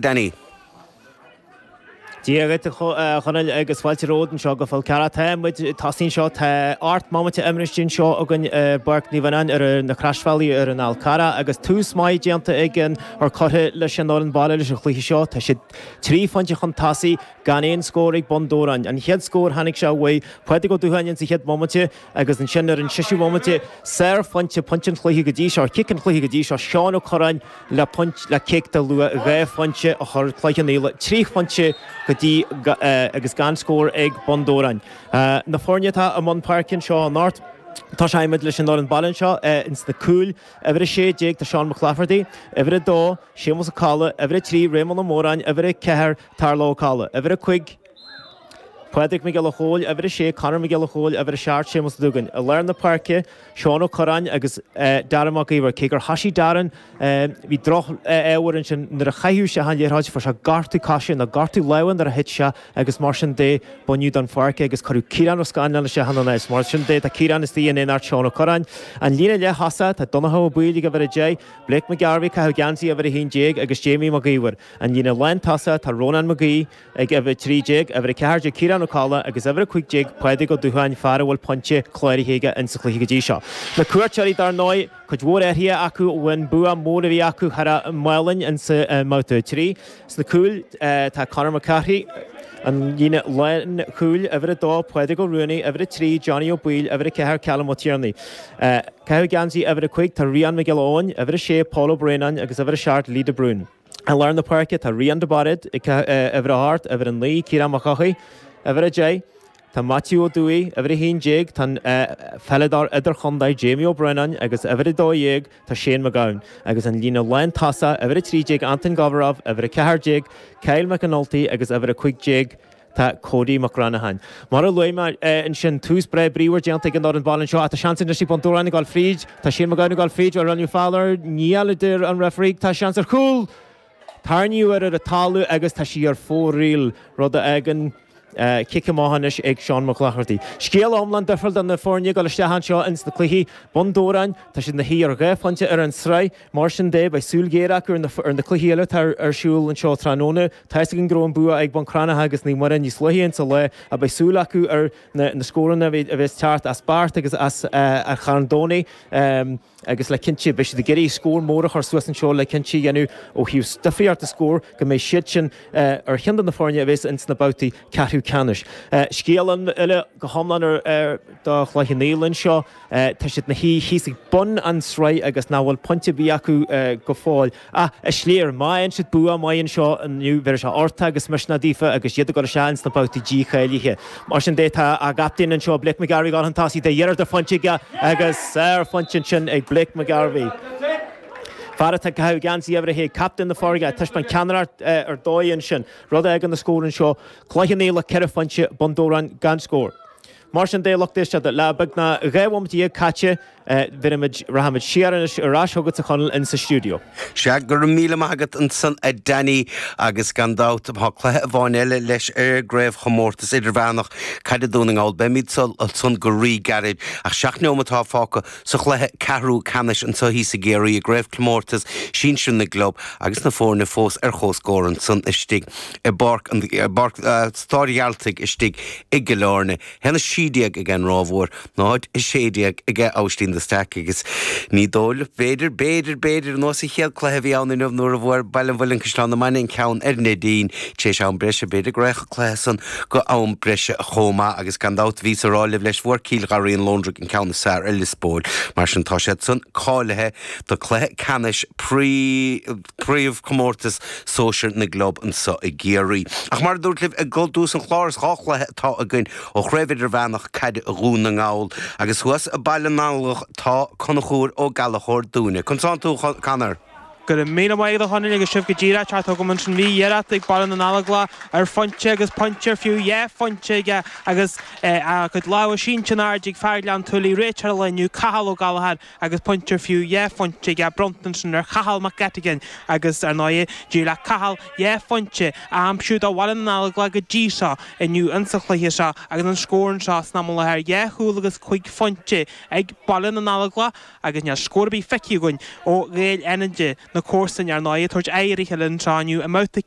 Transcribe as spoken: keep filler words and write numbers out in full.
Danny. Dia dhuit a Chonaill agus fáilte romhat anseo go Fál Carrach. Tá muid tosaithe anseo, tá ocht mbomaite imeartha anseo againn i bPáirc Naomh Fhionáin ar na Croisbhealaí ar an Fhál Carrach agus tús maith déanta ag an or curtha leis an fhoireann baile leis an chluiche seo. Tá siad trí phointe chun tosaigh gan aon scór ag Bun Dobhráin. An chéad scór tháinig sé uaidh Pádraig Ó Dúcháin sa chéad bhomaite agus ansin ar an séú bomaite sárphointe pointe an chluiche go dtí seo, cic an chluiche go dtí seo Seán Ó Curráin le point le cic de luach dhá phointe a chur Cloich Cheann Fhaola trí phointe go dtí agus gan scór ag Bun Dobhráin. Na foirne atá i mbun páirce anseo anocht, Tosóimid leis an fhoireann baile anseo ins na cúil, uimhir a sé déag tá Seán Mac Laifeartaigh, uimhir a dó Séamus Ó Colla, uimhir a trí Réamonn Ó Móráin, uimhir a ceathair Tarlach Ó Colla, uimhir a cúig Pádraig Mac Giolla Chóill, uimhir a sé Conor Mac Giolla Chóill, uimhir a seacht Séamus Ó Dúgáin. I lár na páirce Seán Ó Curráin agus Darren Mac Íomhair. Cé gur thosaigh Darren, bhí droch-ádh ansin nuair a chaitheadh sé an liathróid, fuair sé gortú coise nó gortú láimhe nuair a thit sé agus mar sin de baineadh den pháirc é agus cuireadh Ciarán Ó Scanláin isteach ina áit. Mar sin de tá Ciarán istigh in éineacht Seán Ó Curráin. An líne leath-thosaigh, tá Donncha Ó Baoill ag uimhir a deich, Blake McGarvey ag caitheamh geansaí uimhir a haon déag agus Jamie Mac Íomhair. An líne lán-tosaigh, tá Rónán Mac Aoidh ag uimhir a trí déag, uimhir a ceathair déag Ciarán Ó Colla agus uimhir a cúig déag Pádraig Ó Dúcháin, fear a bhfuil pointe cláraithe aige insa chluiche go dtí seo. Na cuairteoirí dar ndóigh, cuid mhór athruithe acu ón bua mór a bhí acu thar Málainn insa mbabhta a trí. Sna cúil tá Conor McCarthy, an líne lánchúil, uimhir a dó Pádraig Ó Ruanaí, uimhir a trí Johnny Ó Baoill, uimhir a ceathair Callum Ó Tiarnaigh. Caitheamh geansaí uimhir a cúig tá Rian Mac Giolla Eoin, uimhir a sé Paul Ó Braonáin agus uimhir a seacht Lee de Brún. I lár na páirce tá Rian de Bairéad ag uimhir a hocht, uimhir a naoi Ciarán Mac Eochaidh, uimhir a deich tá Maitiú Ó Dúill, uimhir a haon déag tá an peileadóir idirchontae Jamie Ó Braonáin agus uimhir a dó dhéag tá Shane McGowan agus an líne lán-tosaigh uimhir a trí déag Anton Govorov, uimhir a ceathair déag Kyle McAnulty agus uimhir a cúig déag tá Cody Mac Granatháin. Mar a luaigh mé ansin tús breá bríomhar déanta ag an fhoireann baile anseo ach tá seans anois ag Bun Dobhráin ag dul fríd, tá Shane McGowan ag dul fríd, bhuel rinneadh feall air, níl a deir an referee, tá seans ar chúl! Tarraingíodh air ar an talamh agus tá sí ar fóraoil, rud a fhágann cic amach anois ag Seán Mac Laifeartaigh. Scéal iomlán difriúil do na foirne ag dul isteach anseo ins na cluichí. Bun Dobhráin, tá siad ina shuí ar dhá phointe ar an sraith. Mar sin de, beidh súil ghéar acu ar na, ar na cluichí eile atá ar siúl anseo tráthnóna. Tá fhios againn go raibh an bua ag Bun Cranncha agus Naomh Muire níos luaithe insa lá ach beidh súil acu ar na, na scóranna a bheas teacht as Beart agus as an Charn Domhnaigh. Agus le cinnte, beidh siad ag iarraidh scór mór a chur suas anseo le cinnte a dhéanamh ó thaobh difríocht de scór go mbeidh siad sin ar cheann de na foirne a bheas ins na babhtaí ceathrú ceannais. Scéal eile go hiomlán ar do Chloich Cheann Fhaola anseo, tá siad ina shuí thíos ag bun an sraith agus nach bhfuil pointe ar bith acu go fóill. Ach is léir, má fhaigheann siad bua maith anseo inniu, bhéarfaidh sé uchtach agus misneach daofa agus iad ag dul isteach ins na babhtaí dícháilithe. Mar sin de, tá a gcaptaen anseo, Blake McGarvey, ag dul chun tosaigh de iarracht ar phointe aige agus sárphointe ansin ag Blake McGarvey. Fear atá ag caitheamh geansaí uimhir a haon, captaen na foirne, ag taispeáint ceannaireacht ar dóigh ansin. Rud a fhágann an scór anseo, Cloich Cheann Fhaola ceithre phointe, Bun Dobhráin gan scór. Mar sin de, lucht éisteachta, le beagnach dhá bhomaite dhéag caite, bhéarfaimid, rachaimid siar anois ar ais chugat a Chonaill in sa stiúideo. Sea, go raibh míle maith agat ansan a Danny agus gan dabht tá cluiche amháin eile leis ar an gCraobhchomórtas Idirmheánach Caide Dhún na nGall. Beimid ansan go rí-ghairid ach seacht neomat atá fágtha sa chluiche ceathrú ceannais anseo thíos i gCiarraí i gCraobhchomórtas Sinsir na gClub agus na foirne fós ar comhscór ansan istigh i bPáirc an, bPáirc Staid Ghearaltaigh istigh i gCill Airne. haon a sé déag ag an Ráth Mhór, náid a sé déag ag Aibhistín de Staic agus ní dóigh liom, b'fhéidir, b'fhéidir, b'fhéidir, ar nós an chéad cluiche a bhí ann inniu nuair a bhfuair Baile an Mhuilinn Caisleán na Mainge an ceann ar Neidín tar éis am breise, b'fhéidir go raghadh an cluiche san go am breise chomh maith agus gan dabht bhíos a rá libh leis fuair Cill Gharraí an Lóndra an ceann is fearr ar Lios Póil. Mar sin tá siad san cáilithe do cluiche ceannais Príomhchomórtas Sóisir na gClub anseo i gCiarraí. Ach mar a dúrt libh i dtús an chláir, is dhá chluiche atá againn ó Chraobh Idirmheánach Caide Dhún na nGall agus thuas i Baile na nAlglach tá Conchúr Ó Gallchóir dúinne. Conas tánn tú, a Chonor? Go raibh míle maith agat a Chonaill agus sibh go díreach ceart agam ansin. Bhí iarracht ag Baile na nAlglach ar phointe agus pointe ar fiú dhá phointe aige agus a chuid lámha sínte in airde ag fear Ghleann tSúilí, réiteoir an lae inniu, Cathal Ó Gallchóir agus pointe ar fiú dhá phointe aige bronnta ansin ar Chathal Mac Eatigain agus ar ndóigh d'éirigh le Cathal dhá phointe a aimsiú do Bhaile na nAlglach go dtí seo inniu insa chluiche seo agus an scór anseo san am i láthair dhá chúl agus cúig phointe ag Baile na nAlglach agus níl scór ar bith feicthe againn ó Ghaeil Fhánaide na comharsana ar ndóigh, ag tabhairt aghaidh ar a chéile anseo inniu i mbabhta